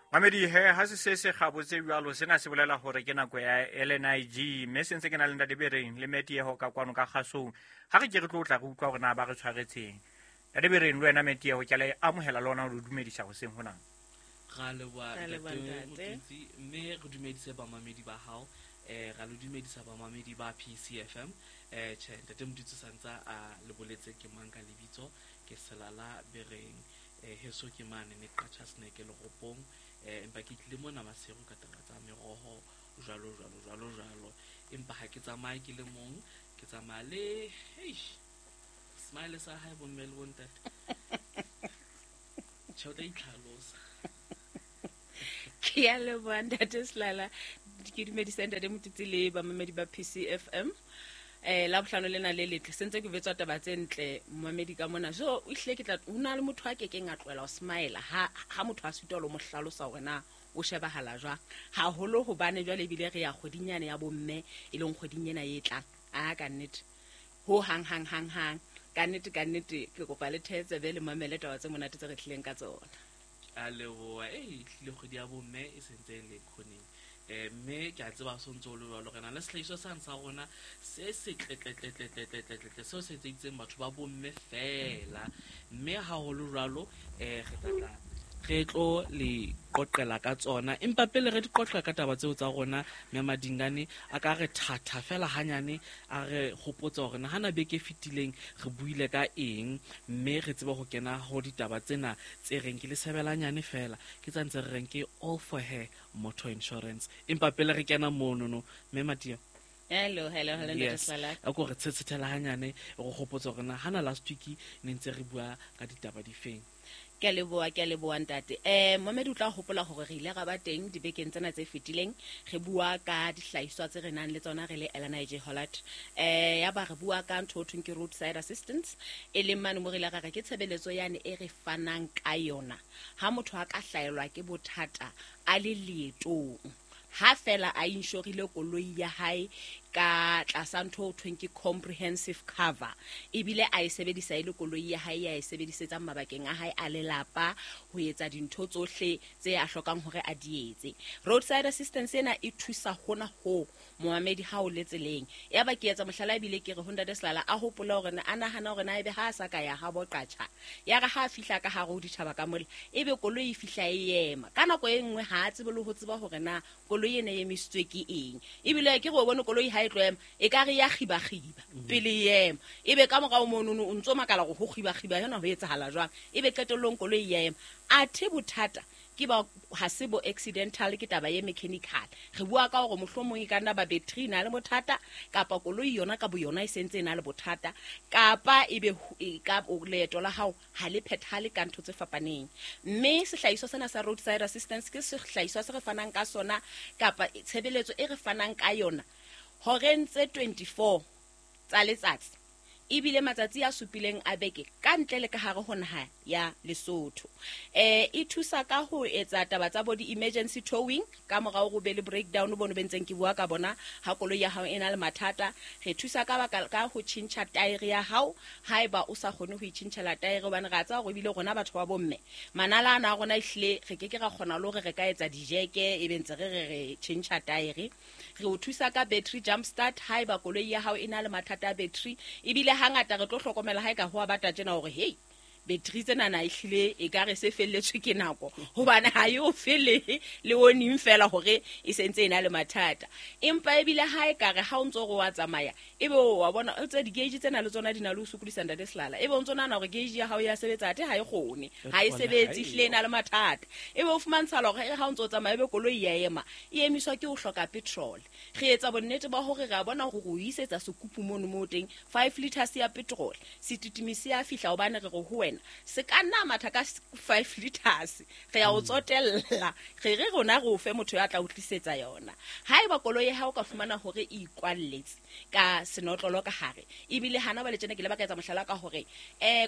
Mamedi he ha se se se gabotse bjalo sena se bolela gore ke nako ya LNIG mme se ntse ke na le ntate Bereng le Metieho ka kwano ka kgasong ga re ke re tlo tla re utlwa gore na ba re tshwaretseng. Ntate Bereng le wena Metieho ke a le amogela le ona o le dumedisa goseng go nang. Ra leboha Ra leboha, ntate ntate. Motutsi, mme re dumedise bamamedi ba hao, ra le dumedisa bamamedi ba PCFM. Tjhe, ntate Motutsi santsa a le boletse ke mang ka lebitso, ke Selala Bereng. Heso ke mane ne Qacha Snake Leropong. Empa ke tlile mona Maseru ka taba tsa meroho jwalo jwalo jwalo jwalo. Empa ha ke tsamaye ke le mong, ke tsamaya le eish smile sa hae bomme le bontate. Tjhe, o tla itlhalosa. Ke a leboha ntate Selala, ke dumedise ntate Motutsi le bamamedi ba PCFM. La bohlano lena le letle, se ntse ke betswa taba tse ntle momamedi ka mona. So ehlile ke tla ho na le motho a kekeng a tlohela ho smile ha motho a sitwa le ho mo hlalosa hore na o shebahala jwang. Haholo hobane jwale ebile re ya kgwedinyane ya bomme, e leng kgweding ena e tlang. A ka nnete. Ho hang hang hang hang. Ka nnete, ka nnete, ke kopa le thetsebe le mamele taba tse monate tse re tlileng ka tsona. A leboha. Ehlile kgwedi ya bomme e sentse e le khoneng. Mme ke a tseba so ntse o le jwalo, re na le sehlahiswa sane sa rona se setletletletletletletle seo se etseditseng batho ba bomme fela. Mme ha ho le jwalo, re tla tla re tlo le qoqela ka tsona. Empa pele re di qoqela ka taba tseo tsa rona, mme Madingane a ka re thatha fela hanyane, a re hopotsa hore na hana beke e fetileng re buile ka eng, mme re tsebe ho kena ho ditaba tsena tse reng ke le sebelanyane fela, ke tsa ntse re reng ke all for her motor insurance. Empa pele re kena monono, mme Matia. Hello, hello, hello, ntate Yes. Selala. A ko re tshetshethela hanyane, re hopotsa hore na hana last week ne ntse re bua ka ditaba difeng. Ke a leboha, ke a leboha ntate. Momedi o tla hopola hore re ile ra ba teng dibekeng tsena tse fetileng, re bua ka dihlahiswa tse re nang le tsona re le LNIG Hollard. Ya ba re bua ka ntho ho thweng ke roadside assistance, e leng mane mo re ile ra re ke tshebeletso yane e re fanang ka yona ha motho a ka hlaelwa ke bothata a le leetong. Ha fela a inshorile koloi ya hae ka tlasa ntho ho thweng ke comprehensive cover, ebile a e sebedisa e le koloi ya hae, ya e sebedisetsang mabakeng a hae a lelapa ho etsa dintho tsohle tse a hlokang hore a di etse. Roadside assistance ena e thusa hona ho momamedi ha o le tseleng. Ya ba ke etsa mohlala ebile ke re ho ntate Selala a hopole hore na a nahana hore na ebe ha a sa ka ya ha boqatjha, ya re ha a fihla ka hare ho ditjhaba ka mola, ebe koloi e fihla e ema. Ka nako e nngwe ha a tsebe le ho tseba hore na koloi ena e emisitswe ke eng. Ebile ke re o bone koloi ha e tlo ema, e ka re ya kgibakgiba pele e ema. Ebe ka morao monono o ntso makala hore ho kgibakgiba yona ho etsahala jwang. Ebe qetellong koloi ya ema. Athe bothata ke ba ha se bo accidental, ke taba ye mechanical. Re bua ka hore mohlomong e ka nna ba battery e na le bothata, kapa koloi yona ka boyona e sentse e na le bothata, kapa ebe e ka leeto la hao ha le phethahale ka ntho tse fapaneng. Mme sehlahiswa sena sa roadside assistance ke sehlahiswa se re fanang ka sona, kapa tshebeletso e re fanang ka yona horeng tse 24 tsa letsatsi, ebile matsatsi a supileng a beke ka ntle le ka hare ho naha ya Lesotho. E thusa ka ho etsa taba tsa bo di-emergency towing ka morao ho be le breakdown bono be ntseng ke bua ka bona ha koloi ya hao e na le mathata. Re thusa ka baka ka ho tjhentjha taere ya hao haeba o sa kgone ho itjhentjhela taere, hobane re a tseba hore ebile rona batho ba bomme manala ana a rona ehlile re ke ke ra kgona le hore re ka etsa dijeke ebe ntse re re re tjhentjha taere. Re o thusa ka battery jump start haeba koloi ya hao e na le mathata a battery, ebile hangata re tlo hlokomela ha e ka ho a bata tjena hore hei battery tsena na ehlile e ka re se felletswe ke nako, hobane ha e o fele le o neng fela hore e sentse e na le mathata. Empa ebile ha e ka re ha o ntso re wa tsamaya, ebe o wa bona, o tse di-gauge tsena le tsona di na le ho sokodisa ntate Selala. Ebe o ntso nahana hore gauge ya hao ya sebetsa, athe ha e kgone, ha e sebetse, ehlile e na le mathata. Ebe o fumantshala hore ha o ntso tsamaya ebe koloi ya ema, e emiswa ke ho hloka petrol. Re etsa bonnete ba hore re a bona hore o isetsa sekupu mono moo teng 5 liters ya petrol, setitimi se a fihla hobane re re ho wena se ka nna matha ka 5 liters, re a o tsotella, re re rona re o fe motho ya tla o tlisetsa yona. Haeba koloi ya hao ka fumana hore e ikwalletse ka senotlolo ka hare, ebile hana ba le tjena ke le ba ka etsa mohlala ka hore,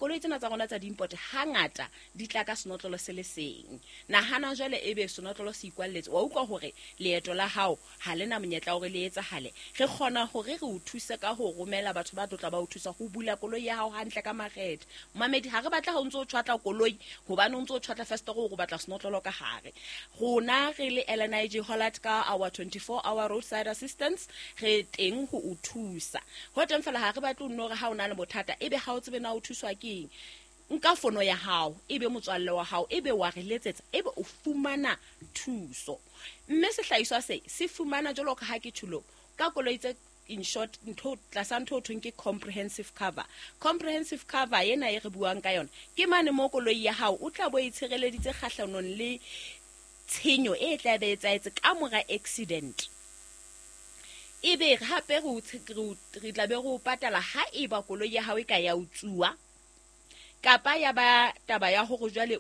koloi tsena tsa rona tsa di-import hangata di tla ka senotlolo se le seng. Nahana jwale ebe senotlolo se ikwalletse, wa utlwa hore leeto la hao ha le na monyetla hore le etsahale. Re kgona hore re o thuse ka ho romela batho ba tlo tla ba o thusa ho bula koloi ya hao hantle ka makgethe. Mamedi, ha re batla ha o ntso o tshwatla koloi hobane o ntso o tshwatla festere o batla senotlolo ka hare. Rona re le LNIG Hollard ka our 24-hour roadside assistance re teng ho o thusa. Ho teng fela ha re batle o nno re ha o na le bothata ebe ha o tsebe na o thuswa ke eng. Nka fono ya hao, ebe motswalle wa hao, ebe wa re letsetsa, ebe o fumana thuso. Mme sehlahiswa se se fumana jwalo ka ha ke tjhulo ka koloi tse in short ntho tlasa ntho thweng ke comprehensive cover. Comprehensive cover ena e re buang ka yona ke mane mo koloi ya hao o tla bo e tshireleditse kgahlanong le tshenyo e tla be e etsahetse ka mora accident. Ebe hape re tla be re o patala ha eba koloi ya hao e ka ya utsuwa kapa ya ba taba ya hore jwale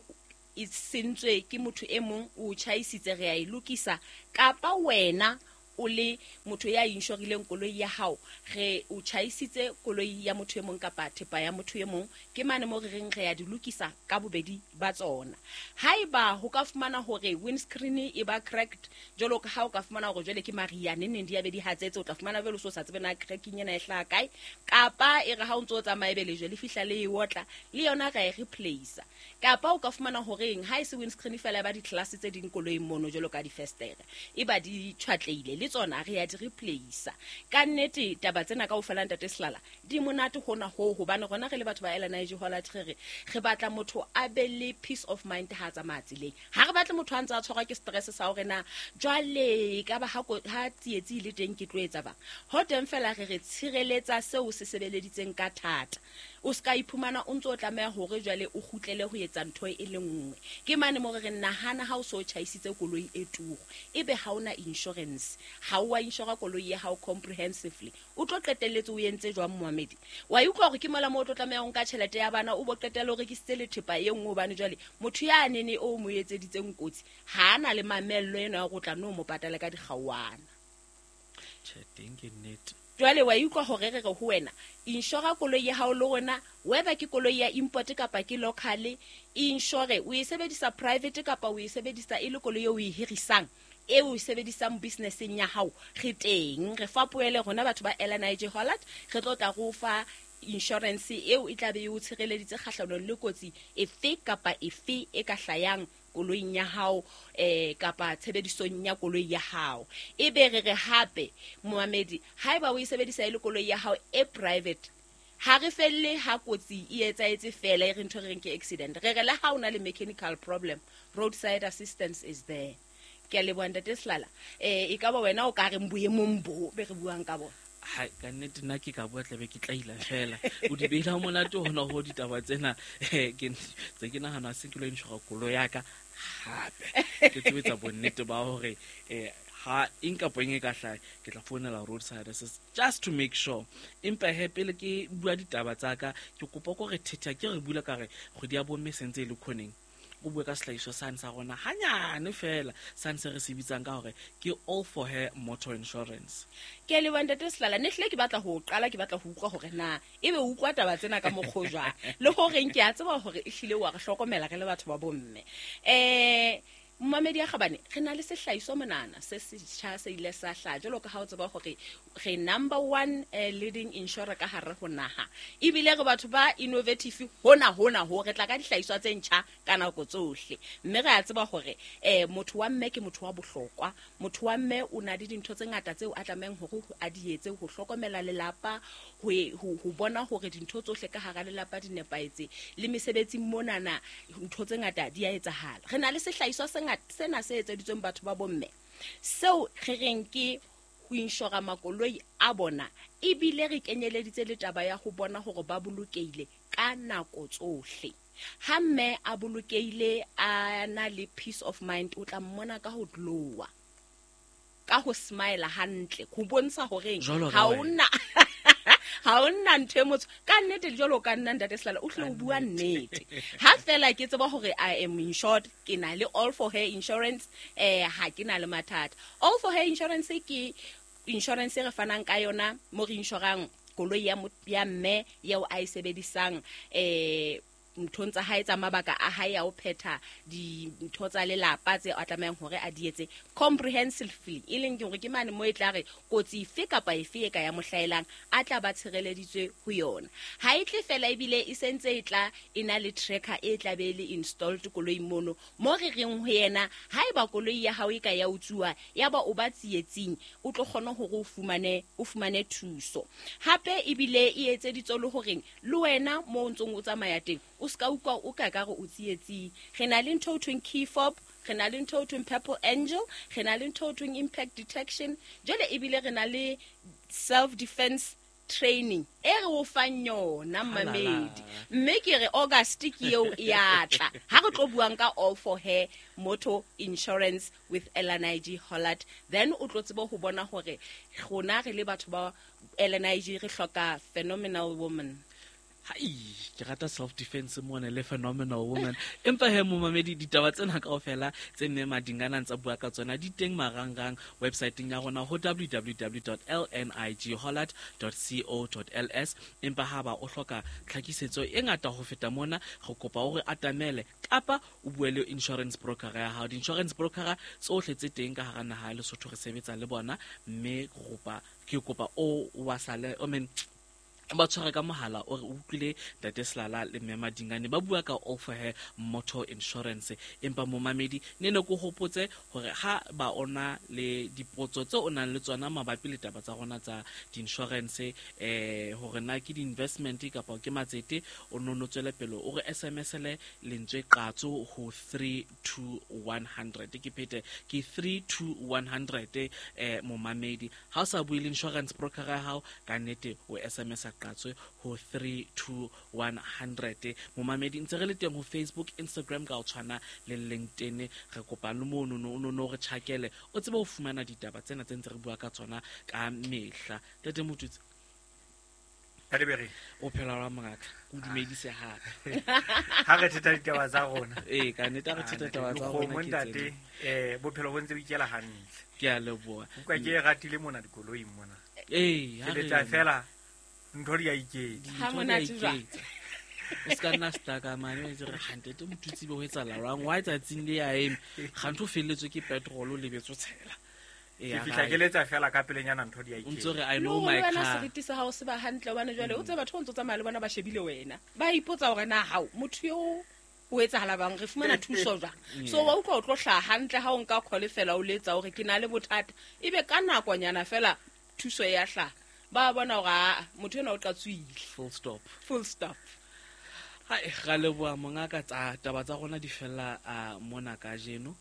e sentswe ke motho e mong o tjhaisitse re a e lokisa, kapa wena o le motho ya inshorileng koloi ya hao re o tjhaisitse koloi ya motho e mong kapa thepa ya motho e mong, ke mane mo re reng re ya di lokisa ka bobedi ba tsona. Haeba ho ka fumana hore windscreen e ba cracked jwalo ka ha o ka fumana hore jwale ke mariha neneng di ya be di hatsetse, o tla fumana jwale o so sa tsebe na cracking ena e hlaha kae, kapa e re ha o ntso o tsamaya ebe lejwe le fihla le e otla le yona ra e replace. Kapa o ka fumana horeng ha e se windscreen fela ba di-class tse ding koloing mono jwalo ka difestere e ba di tjhwatlehile le tsona re ya di replace. Ka nnete taba tsena kaofela ntate Selala di monate hona ho hobane rona re le batho ba LNIG Hollard re re batla motho a be le peace of mind ha tsamaya tseleng. Ha re batle motho a ntse a tshwarwa ke stress sa hore na jwale ka ba ha tsietsi le teng ke tlo etsa bang. Ho teng fela re re tshireletsa seo se sebeleditseng ka thata. O ska iphumana o ntso o tlameha hore jwale o kgutlele ho etsa ntho e le nngwe. Ke mane mo re nahana ha o so tjhaisitse koloi e turu ebe ha ona insurance, ha o wa insura koloi ya hao comprehensively, o tlo qetelletse o entse jwang Mohamedi? Wa utlwa hore ke mola mo o tlo tlameha ho nka tjhelete ya bana o bo qetelle o rekisitse le thepa e nngwe hobane jwale motho ya nene o mo etseditseng kotsi ha ana le mamello eno ya go tla no mo patala ka dikgawana. Tjhe, teng ke nnete. Jwale wa utlwa hore re re ho wena insura koloi ya hao le rona, whether ke koloi ya import kapa ke local, insure o e sebedisa private kapa o e sebedisa e le koloi eo o e hirisang e o e sebedisang businesseng ya hao, re teng re fa poele rona batho ba LNIG Hollard re tlo tla go fa insurance eo e tla be e o tshireleditse kgahlanong le kotsi efe kapa efe e ka hlayang koloing ya hao kapa tshebedisong ya koloi ya hao. Ebe re re hape Mohamedi, haeba o e sebedisa e le koloi ya hao e private, ha re felle ha kotsi e etsahetse fela e re ntho re reng ke accident, re re le ha o na le mechanical problem, roadside assistance is there. Ke a leboha ntate Selala. E ka ba wena o ka reng boemong bo be re buang ka bona? Hai, ka nnete nna ke ka bua tlabe ke tlaila fela. O di beile monate hona ho ditaba tsena. Ke tse ke nahana se ke lo insura koloi ya ka hape. Ke tsebetsa bonnete ba hore ha eng kapa eng e ka hlaha ke tla founela roadside assist just to make sure. Empa he pele ke bua ditaba tsa ka ke kopa ko re thetha ke re bula ka re kgwedi ya bomme sentse e le khoneng. O bue ka sehlahiswa sane sa rona hanyane fela sane se re se bitsang ka hore ke All for Her Motor Insurance. Ke a leboha ntate Selala, ne hlile ke batla ho qala ke batla ho utlwa hore na ebe o utlwa taba tsena ka mokgwa jwang le horeng ke a tseba hore ehlile wa re hlokomela re le batho ba bomme. Momamedi ya kgabane, re na le sehlahiswa monana se setjha se ile sa hlaha jwalo ka ha o tseba hore re number one leading insurer ka hare ho naha, ebile re batho ba innovative hona hona ho re tla ka dihlahiswa tse ntjha ka nako tsohle. Mme re a tseba hore motho wa mme ke motho wa bohlokwa, motho wa mme o na le dintho tse ngata tseo a tlamehang hore a di etse ho hlokomela lelapa, ho bona hore dintho tsohle ka hara lelapa di nepahetse le mesebetsing monana ntho tse ngata di a etsahala. Re na le sehlahiswa se sena se etseditsweng batho ba bomme seo re reng ke ho inshora makoloi a bona, ebile re kenyeleditse le taba ya ho bona hore ba bolokehile ka nako tsohle. Ha mme a bolokehile a na le peace of mind, o tla mmona ka ho glowa, ka ho smile hantle, ho bontsha horeng ha ona ha ona ntho e motho ka nnete jwalo ka nna ntate Selala o hle o bua nnete. Ha fela ke tseba hore I am insured, ke na le All for Her Insurance, ha ke na le mathata. All for Her Insurance ke insurance e re fanang ka yona mo re insurang koloi ya mme eo a e sebedisang Nthong tsa hae tsa mabaka a hae a ho phetha dintho tsa lelapa tse a tlamehang hore a di etse comprehensively, e leng ke hore ke mane mo e tla re kotsi efe kapa efe e ka ya mo hlahelang a tla ba tshireleditswe ho yona. Ha e tle fela, ebile e sentse e tla e na le tracker e tla be e le installed koloing mono, mo re reng ho yena haeba koloi ya hao e ka ya utsuwa ya ba o ba tsietsing, o tlo kgona hore o fumane thuso. Hape ebile e etseditswe le horeng le wena mo o ntsong o tsamaya teng o ska utlwa o ka kare o tsietsing. Re na le ntho ho thweng key fob, re na le ntho ho thweng purple angel, re na le ntho ho thweng impact detection. Jwale ebile re na le self defense training e re o fang yona, mmamedi. Mme ke re August ke eo e ya tla ha re tlo buang ka All for Her Motor Insurance with LNIG Hollard. Then o tlo tseba ho bona hore rona re le batho ba LNIG re hloka phenomenal woman. Hai, ke rata self defense mona le phenomenal woman. Empa he, momamedi, ditaba tsena kaofela tse mme Madingana ntsa bua ka tsona di teng marangrang websiteng ya rona ho www.lnighollard.co.ls. Empa ha ba o hloka tlhakisetso e ngata ho feta mona, re kopa o re atamele kapa o bue le insurance broker ya hao. Di-insurance broker tsohle tse teng ka hara naha ya Lesotho re sebetsa le bona, mme ke kopa o wa sale, I mean, ba tshware ka mohala o re o utlwile ntate Selala le mme Madingane ba bua ka All for Her Motor Insurance. Empa momamedi, ne ko hopotse hore ha ba ona le dipotso tse o nang le tsona mabapi le taba tsa rona tsa di-insurance, hore na ke di-investment kapa ke matsete, o no no tswele pele o re SMS le lentswe qatso ho 32100. Ke phete, ke 32100. Momamedi, ha o sa bue le insurance broker ya hao, ka nnete o SMS qatswe ho 32100. Momamedi, ntse re le teng ho Facebook, Instagram ka o tshwana le LinkedIn. Re kopa le mono no no no re tjhakele, o tsebe ho fumana ditaba tsena tse ntse re bua ka tsona ka mehla. Tate Motutsi. Kadibere. O phela wa mongaka, o dumedise hape. Ha re theta ditaba tsa rona. Ee, ka nnete ha re theta taba tsa Dikgomo rona ke ntate, tsena. Bophelo bo ntse bo ikela hantle. Ke a leboha. Utlwa ke e ratile mona dikoloing mona. Ee, ha Ke re letsa fela ntho di a iketsa. Ha dintho di a monate jwang? iketsa. O se ka nna staka mane o itse re gante te motutsi be ho etsahala jwang wa tsatsing le ya eme gante o felletswe ke petrol o lebetse o tshela. Ee, Ke fihla ke letsa fela ka pelenyana ntho di a o ntso iketsa. re I Le know hore my le wena car. seriti sa hao se ba hantle, hobane jwale o tsebe batho ba ntse o tsamaya le bona ba shebile wena, ba ipotsa hore na hao motho eo o etsahala bang, re fumana thuso jwang. So wa utlwa o tlo hlaha hantle ha o nka call fela o letsa hore ke na le bothata, ebe ka nakonyana fela thuso e ya hlaha, ba bona hore aa motho enwa o qatsoile. Full stop. Full stop. Hai, ra leboha mongaka. Tsa taba tsa rona di fella a mona kajeno.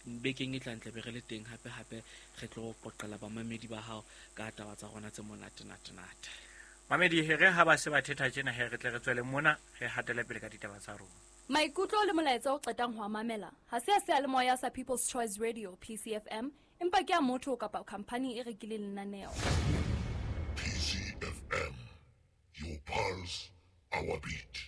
Bekeng e tlang tla be re le teng hape hape, re tlo qoqela bamamedi ba hao ka taba tsa rona tse monate nate nate. Mamedi, he re ha ba se ba thetha tjena, he re tle re tswele mona re hatele pele ka ditaba tsa rona. Maikutlo le molaetsa o qetang ho a mamela ha se a seyalemoya sa People's Choice Radio, PCFM, empa ke a motho kapa khamphani e rekileng lenaneo. PCFM. Your pulse, our beat.